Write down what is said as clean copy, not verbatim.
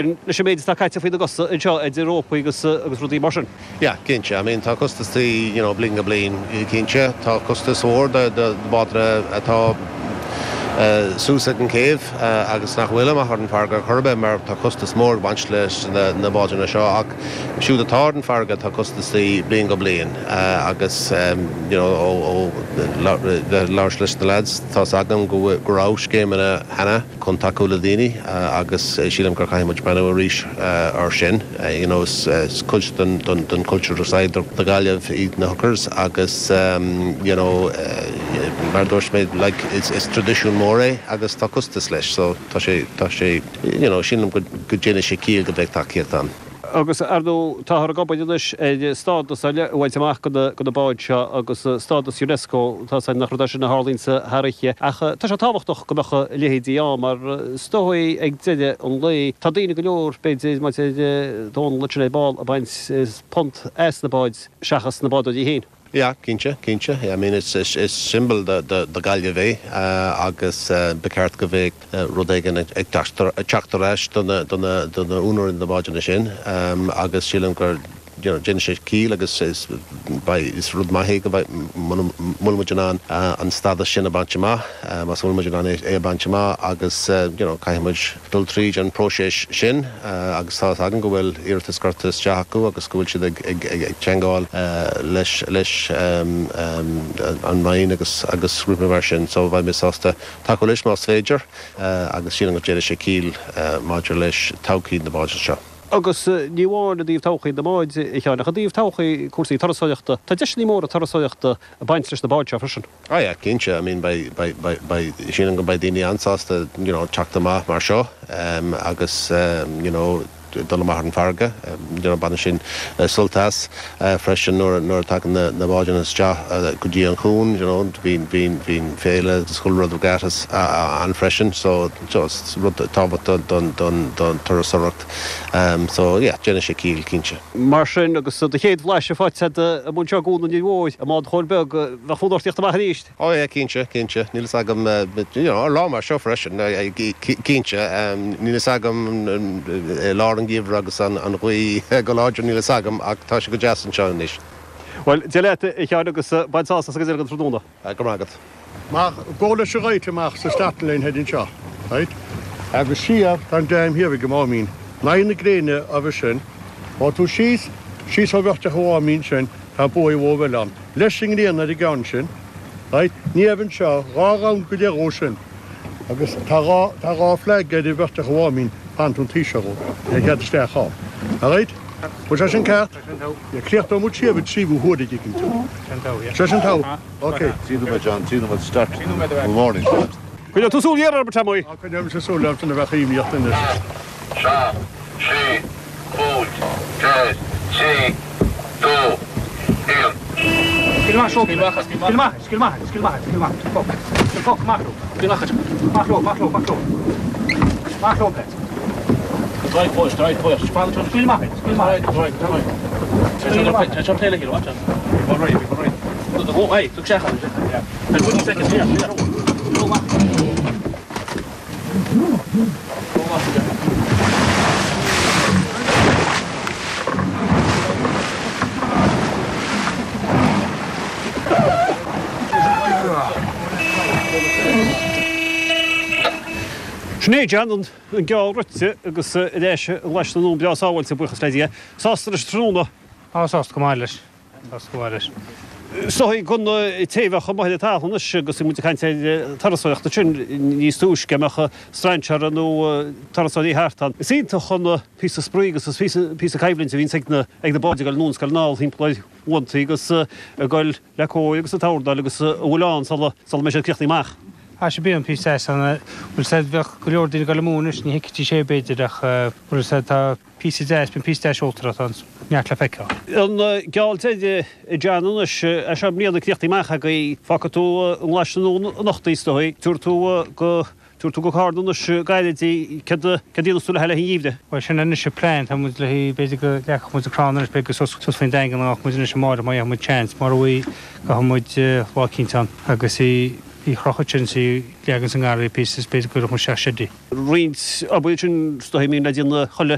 Leis an méid atá caite faoina gcosa anseo idir rópaí agus agus rudaí mar sin. Yeah, cinnte. I mean tá costasaí, you know, bliain go bliain, cinnte. Tá costas mhór do do bhádanna atá suas ag an céibh agus nach bhfuil amach ar an farraige ar chor ar bith mar tá costas mór ag baint leis na bádanna seo ach siúd atá ar an farraige tá costasaí bliain go bliain agus you know ó ó labhairt leis na lads tá's agam go go raibh scéimeanna cheana chun tacú le daoine agus sílim gur caithfidh muid breathnú arís ar sin. You know is cuid den den culture side do Ghaillimh iad na hookers agus you know mar a dúirt mé like is is traidisiún mór é agus tá costas leis so tá sé tá sé you know sílim go go déanfaidh sé ciall go mbeidh tacaíocht ann. Agus, ar ndóigh, táthar ag obair anois ar stádas ar leith a bhaint amach do na báid seo agus stádas Unesco, tá 's againn nach rud é sin a tharlaíonn thar oíche, ach tá sé tábhachtach go mbeadh a leithéidí ann mar is dóigh ag deireadh an lae, tá daoine go leor, b'fhéidir, mar a deir Dónal ansin ar ball, ag baint punt as na báid seachas na bádóirí féin. Yeah, cinnte, cinnte. I mean is is symbol do do do Gaillimh é agus ba cheart go mbeadh rud éigin ag teacht ar ais do na do na do na úinéirí na bádanna sin agus sílim gur you know déanann sé ciall agus is beidh is rud maith é go mbeidh muna bhfuil muid in ann an stádas sin a bhaint amach más bhfuil muid in ann é a bhaint amach agus you know caithfidh muid dul tríd an próiseas sin agus tá 'fhios agam go bhfuil iarratas curtha isteach acu agus go bhfuil siad ag teagmháil leis leis an Roinn agus agus grúpaí mar sin so bheidh mé sásta tacú leis más féidir agus sílim go déanfaidh sé ciall maidir leis todhchaí na báid seo. Agus ní amháin i dtaobh todhchaí na mbád, a Sheáin, ach i dtaobh todhchaí cúrsaí turasóireachta. Tá deiseanna móra turasóireachta ag baint leis na báid seo freisin. Ah yeah, cinnte, I mean beidh, beidh, beidh, beidh, sílim go mbeidh daoine an-sásta, you know, teacht amach mar seo agus, you know, dul amach ar an bhfarraige, you know, baineann sin sult as freisin nuair, nuair a tagann na, na bádanna isteach go dtí an cuan, you know, bíonn, bíonn, bíonn féile agus chuile rud regattas ann freisin so, so is rud tábhachtach don, don, don turasóireacht so yeah, déanann sé ciall, cinnte. Mar sin, agus do chéad bhlaiseadh faighte agat amuigh anseo i gCuan an Fhir Mhóir, i mbád Chóil Beag, bheadh fonn ort tíocht amach arís. Oh yeah, cinnte, cinnte. Níl fhios agam, you know, ar lá mar seo freisin, cinnte. Níl fhios agam i lár an gheimhridh agus an ghaoth go láidir, níl fhios agam, ach tá sé go deas anseo anois. Bhuel, Dia leat, a Sheáin, agus bain sásamh as an gcuid eile den tráthnóna. Go raibh maith agat. Amach, go leis an ghaoth amach sa starting line thoir anseo, right? Agus siar, tá an dam thiar ag an Máimín. In aghaidh na gréine roimhe sin, ó tú síos, síos ó bheart an Mháimín sin, tá buaidh mhór eile ann. Leis an ngrian ar an gceann sin, right? Ní raibh anseo, 2 round go leith dhó sin. Agus tá 2, tá 2 flag ar bheart an Mháimín, fan tú an taobh seo dhó, le cead isteach ann. Alright? Bhfuil sé sin ceart? Críochnóidh muid siar ag tríú huair a dtuigeann tú. Sé sin togha. Ok. 3 nóiméad John, 3 nóiméad start in the morning. Coinneoidh tú súil ghéar orm, Tomaí. Coinneoidh mise súil ort ina bheadh iomaíocht anois. 7, 6, 5, 4, 3, 2, 1. Scaoil amach seo, scaoil amach, scaoil amach, scaoil amach, scaoil amach, foc, foc, amach leo, scaoil amach, amach leo, amach leo, amach leo, amach leo, Pat. Drive push, drive push. Scaoil amach, scaoil amach. Drive, drive, drive. Tá seo taobh le chéile, watch out. Go right, go right. Go, hey, look isteach ann. There's 20 seconds here. Go amach. Go amach. Sin é John, an An geall rite agus ar ais i nGlaise na nDún breá sábháilte, buíochas le Dia. Sásta leis an tráthnóna? Á, sásta go maith leis. Sásta go maith leis. Is dóigh don té a bheadh amuigh ar an talamh anois agus bhí muid ag caint ar turasóireacht ansin níos túisce, a mbeadh strainséara nó turasóirí thart ann. Is iontach an píosa spraoi agus is píosa coimhlinte a bhíonns ag na báid ag dul anonn is ag dul anall thimpeall ar aibhneacha agus ag dul le cóir agus ag tordáil agus a bhfuil ann sula mbeidh siad críochnaithe amach. Tá sé bíonn píosa deas ann. Bhfuil 's a'd, bheadh go leor daoine ag dul amú anois, ní thuigfidís é b'fhéidir ach bhfuil 's a'd, tá píosa deas, bíonn píosa deas seoltóireachta ann, neart le feiceáil. An geall deiridh a John anois, é seo i mbliana críochnaithe amach agaibh, fágfaidh tú i nGlaise na nDún anocht is dóigh, tabharfaidh tú go Tabharfaidh tú go Carna anois gairid í. Céard a dhéanfas tú le haghaidh an gheimhridh? Bhuel, sin anois an plean. Tá muid le haghaidh, b'fhéidir go leagfadh muid an crann anois, b'fhéidir go suas, suas faoin Daingean a ghabhfadh muid anois amárach má gheobhaidh muid seans. Mura bhfaighidh, gabhfaidh muid lá eicínt ann agus í. Í chrochadh ansin is í leagan sa ngarraí píosa is b'fhéidir go gcuirfeadh muid isteach seid í. Roinnt obair sin is dóigh a mbíonn le déanamh chuile.